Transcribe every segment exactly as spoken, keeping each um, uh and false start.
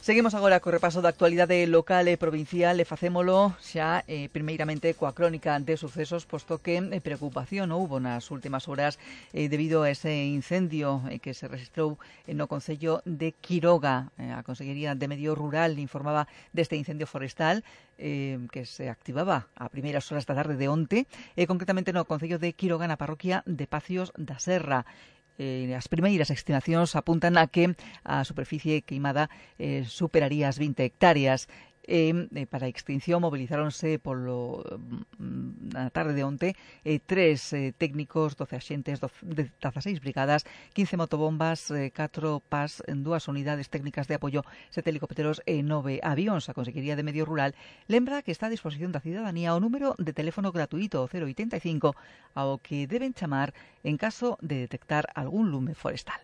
Seguimos agora co repaso da actualidade local e provincial e facémolo xa eh, primeiramente coa crónica de sucesos, posto que eh, preocupación houbo nas últimas horas eh, debido a ese incendio eh, que se registrou eh, no concello de Quiroga. Eh, a Consellería de Medio Rural informaba deste incendio forestal eh, que se activaba a primeiras horas da tarde de onte, e eh, concretamente no concello de Quiroga, na parroquia de Pacios da Serra. Eh, as primeiras estimacións apuntan a que a superficie queimada eh, superaría as vinte hectáreas. Eh, eh, para a extinción movilizáronse polo na tarde de onte eh, tres eh, técnicos, doce axentes, dezaseis brigadas, quince motobombas, eh, catro P A S, dúas unidades técnicas de apoio, sete helicópteros e nove avións. A Consellería de Medio Rural lembra que está a disposición da cidadanía o número de teléfono gratuito cero oitenta e cinco ao que deben chamar en caso de detectar algún lume forestal.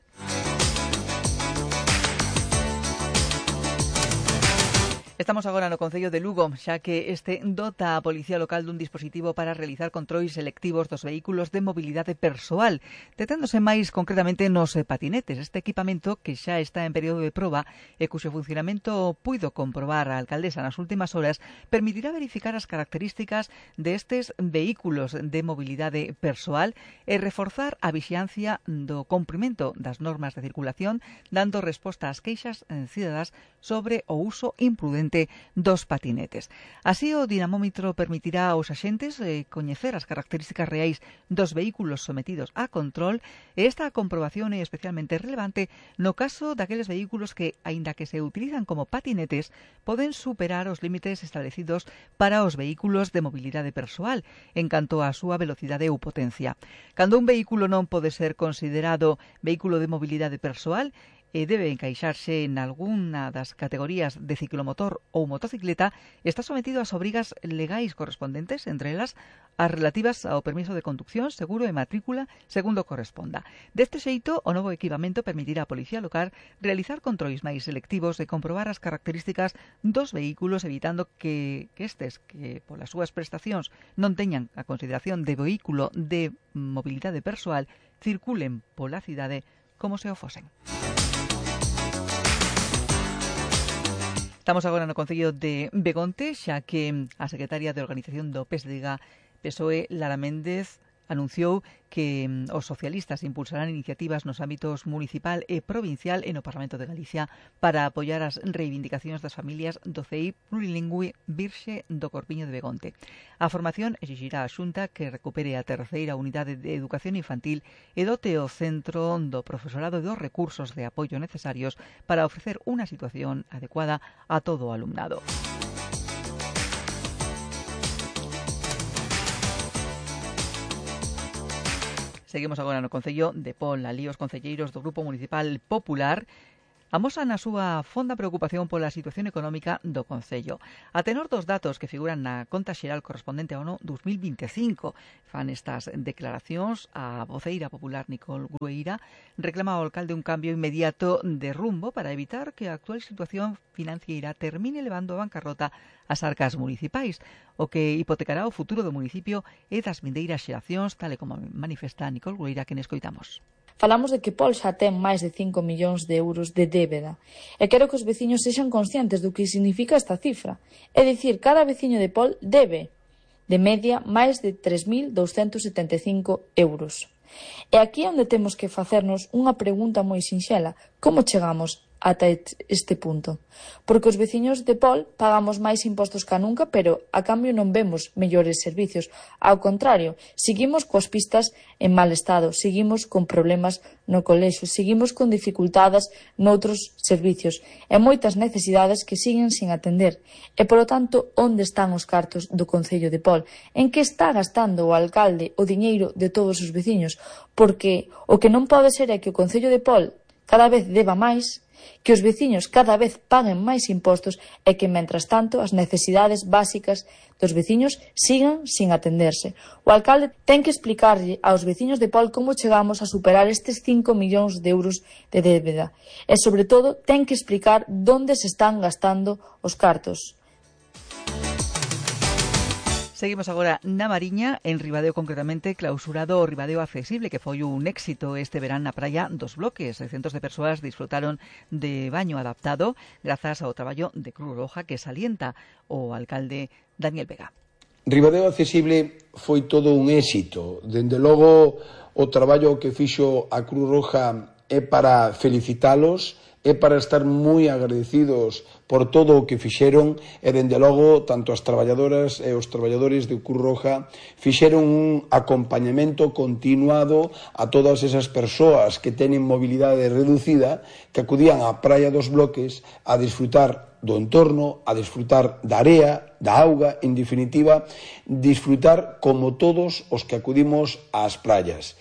Estamos agora no concello de Lugo, xa que este dota a Policía Local dun dispositivo para realizar controis selectivos dos vehículos de mobilidade persoal, deténdose máis concretamente nos patinetes. Este equipamento, que xa está en período de proba e cuxo funcionamento puido comprobar a alcaldesa nas últimas horas, permitirá verificar as características destes vehículos de mobilidade persoal e reforzar a vixiancia do cumprimento das normas de circulación, dando resposta ás queixas cidadás sobre o uso imprudente dos patinetes. Así, o dinamómetro permitirá aos axentes eh, coñecer as características reais dos vehículos sometidos a control, e esta comprobación é especialmente relevante no caso daqueles vehículos que, aínda que se utilizan como patinetes, poden superar os límites establecidos para os vehículos de mobilidade persoal en canto á súa velocidade ou potencia. Cando un vehículo non pode ser considerado vehículo de mobilidade persoal, e debe encaixarse en algunha das categorías de ciclomotor ou motocicleta, está sometido ás obrigas legais correspondentes, entre elas as relativas ao permiso de conducción, seguro e matrícula, segundo corresponda. Deste xeito, o novo equipamento permitirá á Policía Local realizar controis máis selectivos e comprobar as características dos vehículos, evitando que, que estes, que polas súas prestacións non teñan a consideración de vehículo de mobilidade persoal, circulen pola cidade como se o fosen. Estamos agora no concello de Begonte, xa que a secretaria de Organización do P S D G, P S O E, Lara Méndez, anunciou que os socialistas impulsarán iniciativas nos ámbitos municipal e provincial e no Parlamento de Galicia para apoiar as reivindicacións das familias do C I plurilingüe Virxe do Corpiño de Begonte. A formación exixirá á Xunta que recupere a terceira unidade de educación infantil e dote o centro do profesorado dos recursos de apoio necesarios para ofrecer unha situación adecuada a todo o alumnado. Seguimos agora no concello de Pol. Alí os concelleiros do Grupo Municipal Popular amosan a súa fonda preocupación pola situación económica do concello. A tenor dos datos que figuran na conta xeral correspondente ao ano dos mil vinte e cinco, fan estas declaracións a voceira popular Nicole Grueira, reclama ao alcalde un cambio inmediato de rumbo para evitar que a actual situación financiera termine levando a bancarrota as arcas municipais, o que hipotecará o futuro do municipio e das vindeiras xeracións, tal e como manifesta Nicole Grueira, que nescoitamos. Falamos de que Pol xa ten máis de cinco millóns de euros de débeda e quero que os veciños sexan conscientes do que significa esta cifra. É dicir, cada veciño de Pol debe, de media, máis de tres mil douscentos setenta e cinco euros. E aquí é onde temos que facernos unha pregunta moi sinxela: como chegamos ata este punto? Porque os veciños de Pol pagamos máis impostos ca nunca, pero a cambio non vemos mellores servicios. Ao contrario, seguimos coas pistas en mal estado, seguimos con problemas no colexio, seguimos con dificultadas noutros servicios e moitas necesidades que siguen sin atender. E, polo tanto, onde están os cartos do Concello de Pol? En que está gastando o alcalde o diñeiro de todos os veciños? Porque o que non pode ser é que o Concello de Pol cada vez deba máis, que os veciños cada vez paguen máis impostos e que, mentras tanto, as necesidades básicas dos veciños sigan sin atenderse. O alcalde ten que explicarlle aos veciños de Pol como chegamos a superar estes cinco millóns de euros de débeda e, sobre todo, ten que explicar onde se están gastando os cartos. Seguimos agora na Mariña, en Ribadeo concretamente, clausurado o Ribadeo Accesible, que foi un éxito este verán na praia dos Bloques. Centos de persoas disfrutaron de baño adaptado grazas ao traballo de Cruz Roja que salienta o alcalde Daniel Vega. Ribadeo Accesible foi todo un éxito. Dende logo, o traballo que fixo a Cruz Roja é para felicitalos, é para estar moi agradecidos por todo o que fixeron e, dende logo, tanto as traballadoras e os traballadores de Cruz Roja fixeron un acompañamento continuado a todas esas persoas que teñen mobilidade reducida que acudían á praia dos Bloques a disfrutar do entorno, a disfrutar da area, da auga, en definitiva, disfrutar como todos os que acudimos ás praias.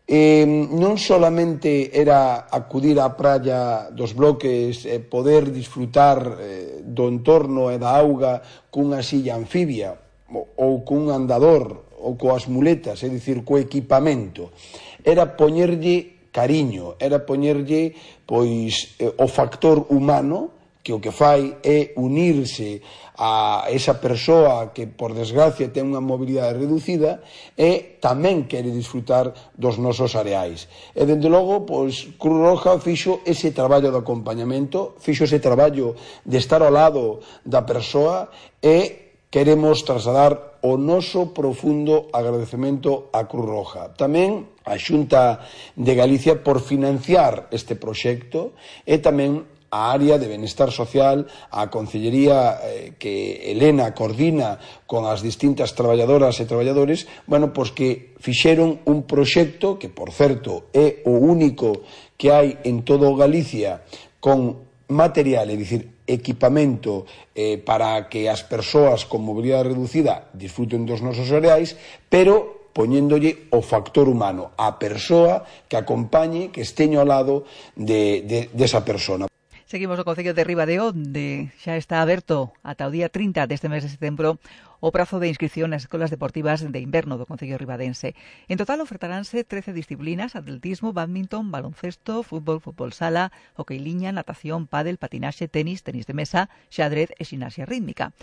Eh, non solamente era acudir á praia dos Bloques e poder disfrutar eh, do entorno e da auga cunha silla anfibia ou cun andador ou coas muletas, é dicir, co equipamento. Era poñerlle cariño, era poñerlle pois eh, o factor humano, que o que fai é unirse a esa persoa que, por desgracia, ten unha mobilidade reducida e tamén quere disfrutar dos nosos areais. E, dende logo, pois, Cruz Roja fixo ese traballo de acompañamento, fixo ese traballo de estar ao lado da persoa e queremos trasladar o noso profundo agradecemento á Cruz Roja. Tamén a Xunta de Galicia por financiar este proxecto e tamén a área de benestar social, a Concellería eh, que Elena coordina con as distintas traballadoras e traballadores, bueno, pois que fixeron un proxecto que, por certo, é o único que hai en todo Galicia con material, é dicir, equipamento eh, para que as persoas con mobilidade reducida disfruten dos nosos areais, pero poñéndolle o factor humano, a persoa que acompañe, que esteño ao lado de, de, desa persona. Seguimos no Concello de Ribadeo, onde xa está aberto ata o día trinta deste mes de setembro o prazo de inscripción nas escolas deportivas de inverno do Concello ribadense. En total ofertaránse trece disciplinas: atletismo, badminton, baloncesto, fútbol, fútbol sala, hockey liña, natación, pádel, patinaxe, tenis, tenis de mesa, xadrez e ximnasia rítmica.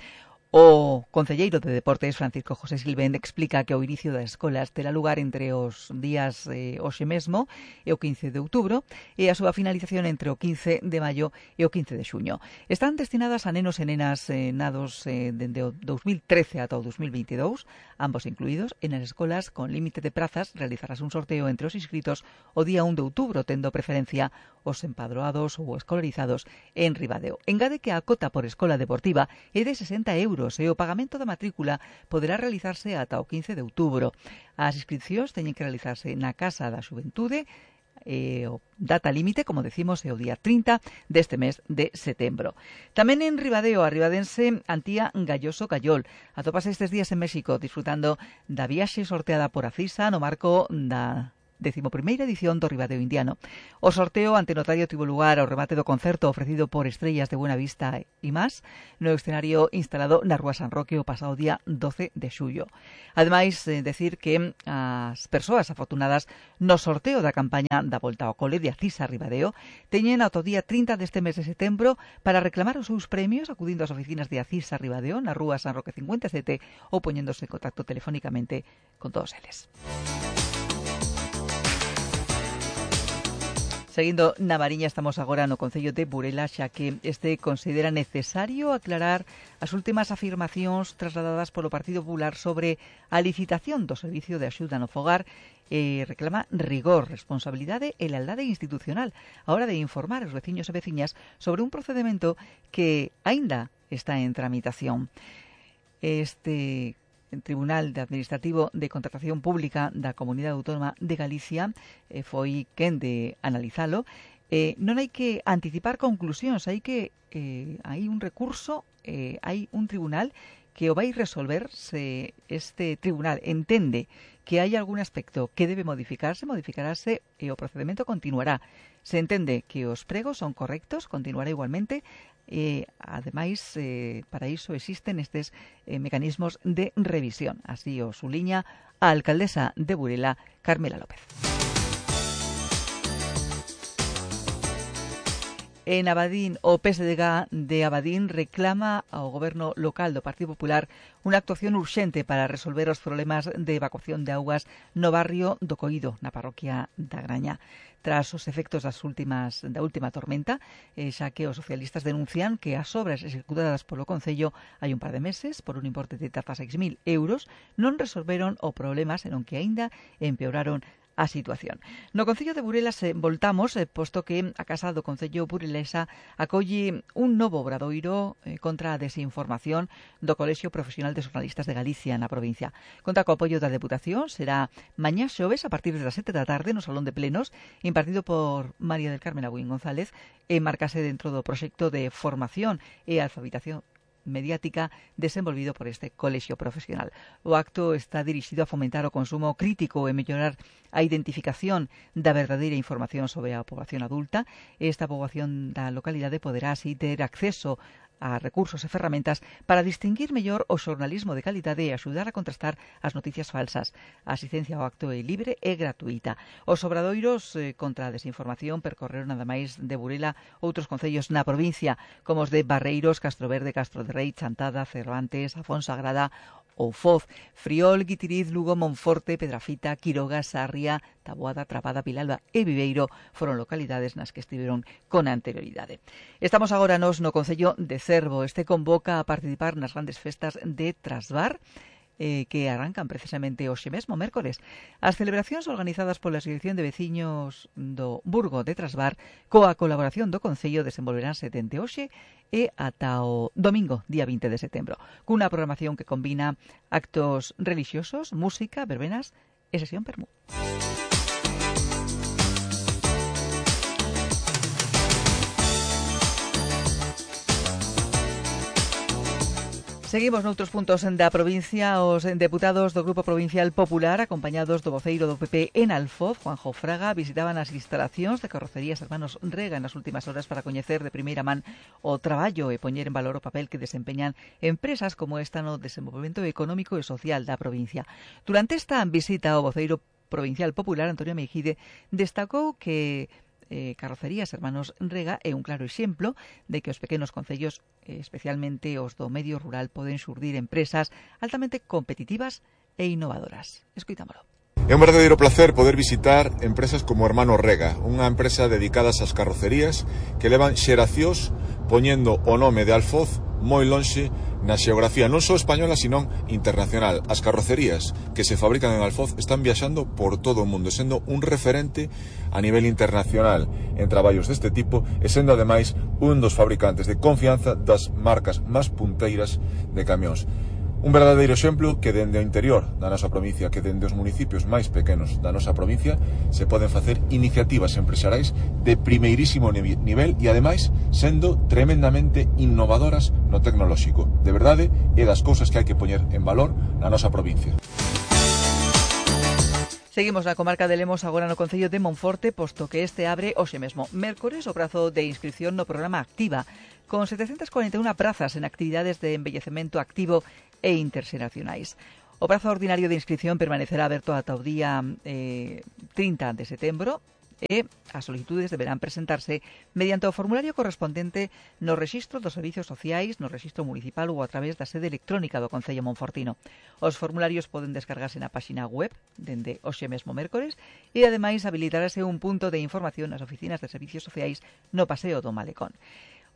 O concelleiro de Deportes, Francisco José Silvén, explica que o inicio das escolas terá lugar entre os días eh, hoxe mesmo e o quince de outubro e a súa finalización entre o quince de maio e o quince de xuño. Están destinadas a nenos e nenas eh, nados eh, dende o dous mil trece ata o dous mil veintidous, ambos incluídos, e nas escolas con límite de prazas realizarás un sorteo entre os inscritos o día un de outubro, tendo preferencia os empadroados ou escolarizados en Ribadeo. Engade que a cota por escola deportiva é de sesenta euros e o pagamento da matrícula poderá realizarse ata o quince de outubro. As inscripcións teñen que realizarse na Casa da Xuventude e o data límite, como decimos, é o día trinta deste mes de setembro. Tamén en Ribadeo, a ribadense Antía Galloso Callol atópase estes días en México disfrutando da viaxe sorteada por Acisa no marco da decimoprimeira edición do Ribadeo Indiano. O sorteo ante notario tivo lugar ao remate do concerto ofrecido por Estrellas de Buena Vista e máis no escenario instalado na Rúa San Roque o pasado día doce de xullo. Ademais, eh, decir que as persoas afortunadas no sorteo da campaña da Volta ao Cole de Acisa Ribadeo teñen ata o día trinta deste mes de setembro para reclamar os seus premios acudindo ás oficinas de Acisa Ribadeo na Rúa San Roque cincuenta e sete ou poñéndose en contacto telefónicamente con todos eles. Seguindo na Mariña, estamos agora no Concello de Burela, xa que este considera necesario aclarar as últimas afirmacións trasladadas polo Partido Popular sobre a licitación do servicio de axuda no fogar e reclama rigor, responsabilidade e lealdade institucional a hora de informar os veciños e veciñas sobre un procedimento que aínda está en tramitación. Este Tribunal de Administrativo de Contratación Pública da Comunidade Autónoma de Galicia eh, foi quen de analizalo. Eh, non hai que anticipar conclusións, hai que eh, hai un recurso, eh, hai un tribunal que o vai resolver. Se este tribunal entende que hai algún aspecto que debe modificarse, modificarase e o procedimento continuará. Se entende que os pregos son correctos, continuará igualmente. E, ademais, eh, para iso existen estes eh, mecanismos de revisión. Así o suliña a alcaldesa de Burela, Carmela López. En Abadín, o P S D G de Abadín reclama ao goberno local do Partido Popular unha actuación urxente para resolver os problemas de evacuación de augas no barrio do Coído, na parroquia da Graña. Tras os efectos das últimas da última tormenta, eh, xa que os socialistas denuncian que as obras executadas polo Concello hai un par de meses, por un importe de dezaseis mil euros, non resolveron o problema, senón que aínda empeoraron a situación. No Concello de Burelas eh, voltamos, eh, posto que a Casa do Concello burelesa acolle un novo obradoiro eh, contra a desinformación do Colexio Profesional de Xornalistas de Galicia na provincia. Conta co apoio da Deputación, será mañá xoves a partir das sete da tarde no Salón de Plenos, impartido por María del Carmen Agüín González, e marcase dentro do proxecto de formación e alfabetización mediática desenvolvido por este colexio profesional. O acto está dirixido a fomentar o consumo crítico e mellorar a identificación da verdadeira información sobre a poboación adulta. Esta poboación da localidade poderá así ter acceso a recursos e ferramentas para distinguir mellor o xornalismo de calidade e axudar a contrastar as noticias falsas. A asistencia ao acto é libre e gratuita. Os obradoiros eh, contra a desinformación percorreron nada máis de Burela outros concellos na provincia, como os de Barreiros, Castroverde, Castro de Rei, Chantada, Cervantes, Afonsagrada ou Foz, Friol, Guitiriz, Lugo, Monforte, Pedrafita, Quiroga, Sarria, Taboada, Trabada, Vilalba e Viveiro foron localidades nas que estiveron con anterioridade. Estamos agora nos no Concello de Cervo. Este convoca a participar nas grandes festas de Trasbar, eh, que arrancan precisamente hoxe mesmo, mércores. As celebracións organizadas pola Asociación de Veciños do Burgo de Trasbar, coa colaboración do Concello, desenvolveránse dende hoxe e ata o domingo, día vinte de setembro, cunha programación que combina actos relixiosos, música, verbenas e sesión permú. Seguimos noutros puntos da provincia. Os deputados do Grupo Provincial Popular, acompañados do voceiro do P P en Alfoz, Juanjo Fraga, visitaban as instalacións de Carrocerías Hermanos Rega nas últimas horas para coñecer de primeira man o traballo e poñer en valor o papel que desempeñan empresas como esta no desenvolvemento económico e social da provincia. Durante esta visita, o voceiro Provincial Popular, Antonio Meijide, destacou que Eh, Carrocerías Hermanos Rega é un claro exemplo de que os pequenos concellos, eh, especialmente os do medio rural, poden xurdir empresas altamente competitivas e innovadoras. Escoitámolo. É un verdadeiro placer poder visitar empresas como Hermanos Rega, unha empresa dedicada ás carrocerías que levan xeracións poñendo o nome de Alfoz moi lonxe na xeografía non só española, sino internacional. As carrocerías que se fabrican en Alfoz están viaxando por todo o mundo, sendo un referente a nivel internacional en traballos deste tipo e sendo ademais un dos fabricantes de confianza das marcas máis punteiras de camións. Un verdadeiro exemplo que dende o interior da nosa provincia, que dende os municipios máis pequenos da nosa provincia se poden facer iniciativas empresariais de primeirísimo nivel e ademais sendo tremendamente innovadoras no tecnolóxico. De verdade, é das cousas que hai que poñer en valor na nosa provincia. Seguimos na comarca de Lemos, agora no Concello de Monforte, posto que este abre hoxe mesmo mércores o prazo de inscripción no programa Activa, con setecentas cuarenta e unha prazas en actividades de envellecemento activo e interxeracionais. O prazo ordinario de inscripción permanecerá aberto ata o día eh, trinta de setembro e as solicitudes deberán presentarse mediante o formulario correspondente no rexistro dos servicios sociais, no rexistro municipal ou a través da sede electrónica do Concello monfortino. Os formularios poden descargarse na páxina web dende hoxe mesmo mércores e ademais habilitarase un punto de información nas oficinas de servicios sociais no Paseo do Malecón.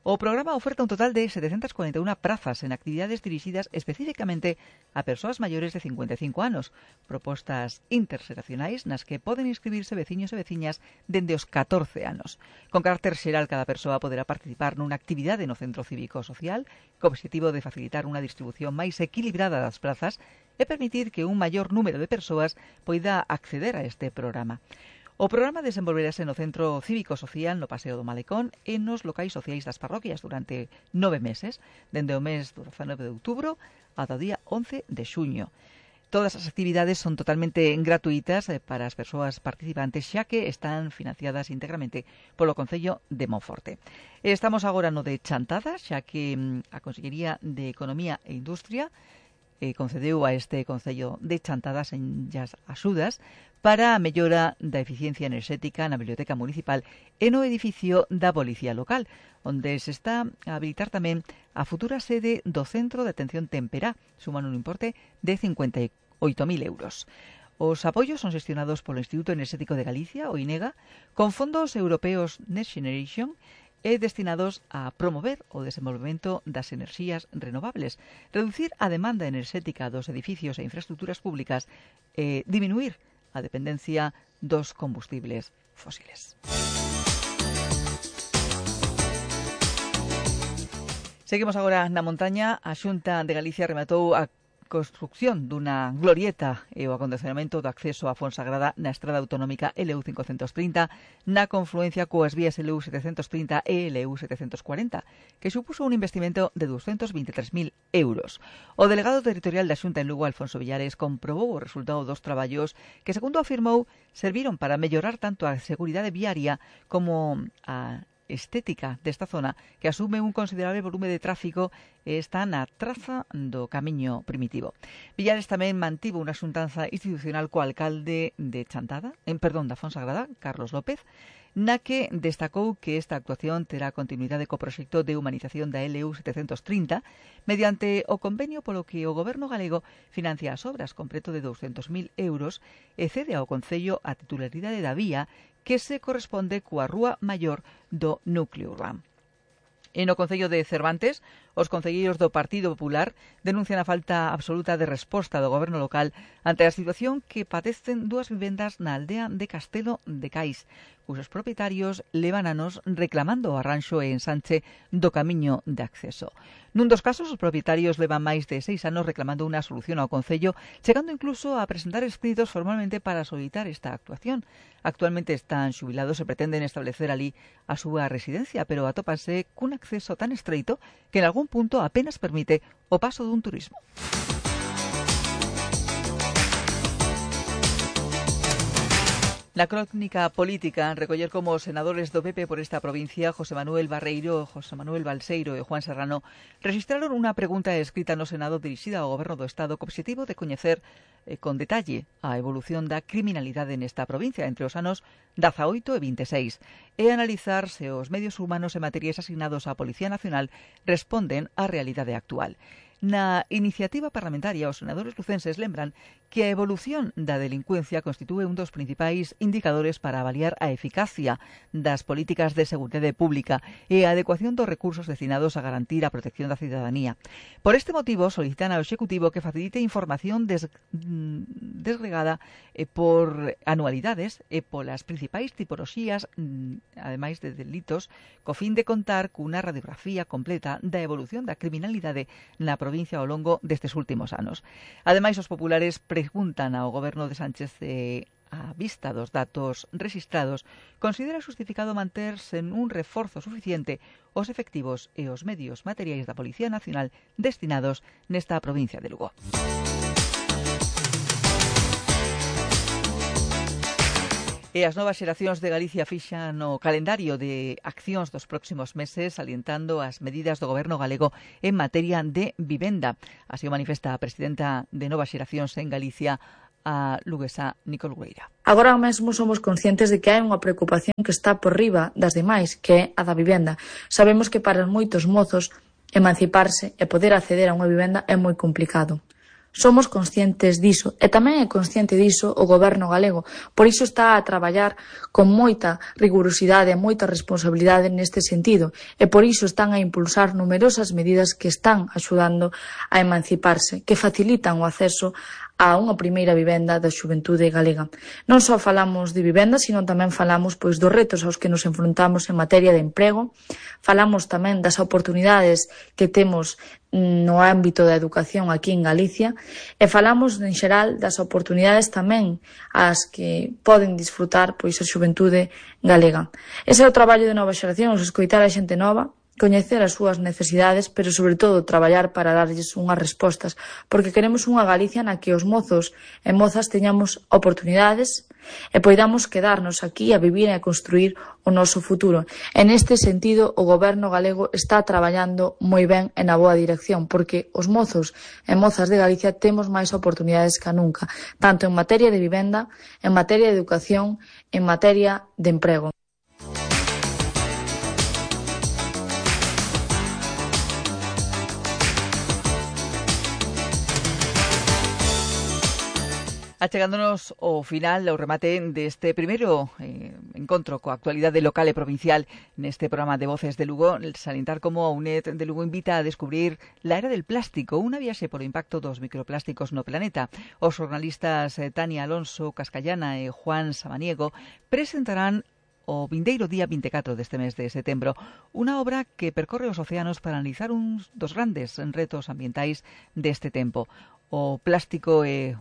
O programa oferta un total de setecentas cuarenta e unha prazas en actividades dirixidas especificamente a persoas maiores de cincuenta e cinco anos, propostas interxeracionais nas que poden inscribirse veciños e veciñas dende os catorce anos. Con carácter xeral, cada persoa poderá participar nunha actividade no Centro Cívico Social co obxectivo de facilitar unha distribución máis equilibrada das prazas e permitir que un maior número de persoas poida acceder a este programa. O programa desenvolverase no Centro Cívico Social, no Paseo do Malecón e nos locais sociais das parroquias durante nove meses, dende o mes do dezanove de outubro ata o día once de xuño. Todas as actividades son totalmente gratuitas para as persoas participantes, xa que están financiadas íntegramente polo Concello de Monforte. Estamos agora no de Chantada, xa que a Consellería de Economía e Industria eh, concedeu a este Concello de Chantada senllas axudas para a mellora da eficiencia enerxética na Biblioteca Municipal e no edificio da Policía Local, onde se está a habilitar tamén a futura sede do Centro de Atención Temperá, suman un importe de cincuenta e oito mil euros. Os apoios son xestionados polo Instituto Enerxético de Galicia, o INEGA, con fondos europeos Next Generation e destinados a promover o desenvolvemento das enerxías renovables, reducir a demanda enerxética dos edificios e infraestructuras públicas e diminuir a dependencia dos combustibles fósiles. Seguimos agora na montaña. A Xunta de Galicia rematou a construcción dunha glorieta e o acondicionamento do acceso a Fonsagrada na estrada autonómica L U cincocentos trinta na confluencia coas vías L U setecentos trinta e L U setecentos cuarenta, que supuso un investimento de doscientos veintitrés mil euros. O delegado territorial da Xunta en Lugo, Alfonso Villares, comprobou o resultado dos traballos que, segundo afirmou, serviron para mellorar tanto a seguridade viaria como a estética desta zona, que asume un considerable volume de tráfico e está na traza do camiño primitivo. Villares tamén mantivo unha xuntanza institucional co alcalde de Chantada, en perdón, da Fonsagrada, Carlos López, na que destacou que esta actuación terá continuidade co proxecto de humanización da L U setecentos trinta mediante o convenio polo que o Goberno galego financia as obras con preto de doscientos mil euros e cede ao Concello a titularidade da vía que se corresponde coa Rúa Maior do núcleo urbano. E no Concello de Cervantes, os concelleiros do Partido Popular denuncian a falta absoluta de resposta do goberno local ante a situación que padecen dúas vivendas na aldea de Castelo de Cais, cujos propietarios levan anos reclamando o arranxo e ensanche do camiño de acceso. Nun dos casos, os propietarios levan máis de seis anos reclamando unha solución ao Concello, chegando incluso a presentar escritos formalmente para solicitar esta actuación. Actualmente están xubilados e pretenden establecer ali a súa residencia, pero atópanse cun acceso tan estreito que en algún punto apenas permite o paso dun turismo. Na crónica política, recoller como os senadores do P P por esta provincia, José Manuel Barreiro, José Manuel Balseiro e Juan Serrano, registraron unha pregunta escrita no Senado dirixida ao Goberno do Estado co obxectivo de coñecer eh, con detalle a evolución da criminalidade nesta provincia entre os anos dezaoito e vinte e seis e analizar se os medios humanos e materiais asignados á Policía Nacional responden á realidade actual. Na iniciativa parlamentaria, os senadores lucenses lembran que a evolución da delincuencia constitúe un dos principais indicadores para avaliar a eficacia das políticas de seguridade pública e a adecuación dos recursos destinados a garantir a protección da cidadanía. Por este motivo, solicitan ao Executivo que facilite información des, desgregada eh, por anualidades e polas principais tipoloxías, ademais de delitos, co fin de contar cunha radiografía completa da evolución da criminalidade na provincia ao longo destes últimos anos. Ademais, os populares preguntan ao Goberno de Sánchez eh, a vista dos datos rexistrados, considera justificado manterse en un reforzo suficiente os efectivos e os medios materiais da Policía Nacional destinados nesta provincia de Lugo. E as novas xeracións de Galicia fixan no calendario de accións dos próximos meses, salientando as medidas do goberno galego en materia de vivenda. Así o manifesta a presidenta de Novas Xeracións en Galicia, a luguesa Nicole Gueira. Agora mesmo somos conscientes de que hai unha preocupación que está por riba das demais, que é a da vivenda. Sabemos que para moitos mozos emanciparse e poder acceder a unha vivenda é moi complicado. Somos conscientes diso e tamén é consciente diso o goberno galego. Por iso está a traballar con moita rigurosidade e moita responsabilidade neste sentido e por iso están a impulsar numerosas medidas que están axudando a emanciparse, que facilitan o acceso a unha primeira vivenda da xuventude galega. Non só falamos de vivenda, sino tamén falamos pois dos retos aos que nos enfrontamos en materia de emprego, falamos tamén das oportunidades que temos no ámbito da educación aquí en Galicia e falamos en xeral das oportunidades tamén as que poden disfrutar pois a xuventude galega. Ese é o traballo de Novas Xeracións, escoitar a xente nova, coñecer as súas necesidades, pero sobre todo traballar para darlles unhas respostas, porque queremos unha Galicia na que os mozos e mozas teñamos oportunidades e poidamos quedarnos aquí a vivir e a construir o noso futuro. En este sentido, o goberno galego está traballando moi ben e na boa dirección, porque os mozos e mozas de Galicia temos máis oportunidades que nunca, tanto en materia de vivenda, en materia de educación, en materia de emprego. Achegándonos ao final, ao remate deste primeiro eh, encontro coa actualidade local e provincial neste programa de Voces de Lugo, salientar como a UNED de Lugo invita a descubrir la era del plástico, unha viaxe polo impacto dos microplásticos no planeta. Os xornalistas eh, Tania Alonso Cascallana e Juan Samaniego presentarán o vindeiro día vinte e catro deste mes de setembro unha obra que percorre os océanos para analizar uns dos grandes retos ambientais deste tempo. O plástico eh,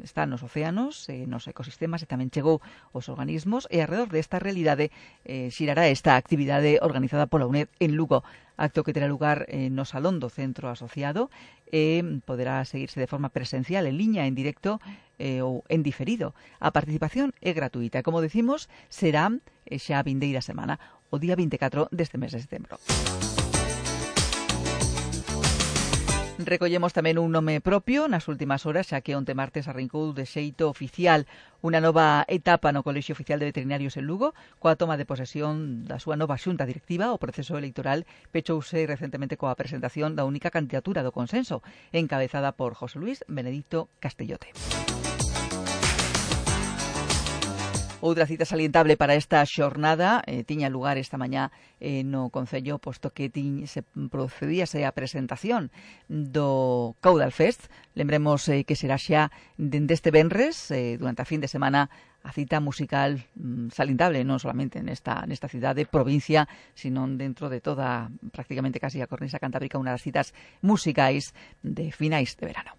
está nos océanos, eh, nos ecosistemas e tamén chegou aos organismos e alrededor desta realidade eh, xirará esta actividade organizada pola UNED en Lugo, acto que terá lugar eh, no Salón do Centro Asociado e eh, poderá seguirse de forma presencial, en liña, en directo eh, ou en diferido. A participación é gratuita e, como decimos, será eh, xa a vindeira semana, o día vinte e catro deste mes de setembro. Recollemos tamén un nome propio nas últimas horas, xa que onte martes arrancou de xeito oficial unha nova etapa no Colexio Oficial de Veterinarios en Lugo, coa toma de posesión da súa nova xunta directiva. O proceso electoral pechouse recentemente coa presentación da única candidatura do consenso, encabezada por José Luis Benedicto Castellote. Outra cita salientable para esta xornada eh, tiña lugar esta mañá eh, no Concello, posto que tiñ, se procedíase a presentación do Caudal Fest. Lembremos eh, que será xa dende este venres, eh, durante a fin de semana, a cita musical mm, salientable, non solamente nesta, nesta cidade, provincia, sino dentro de toda, prácticamente casi a cornisa cantábrica, unha das citas musicais de finais de verano.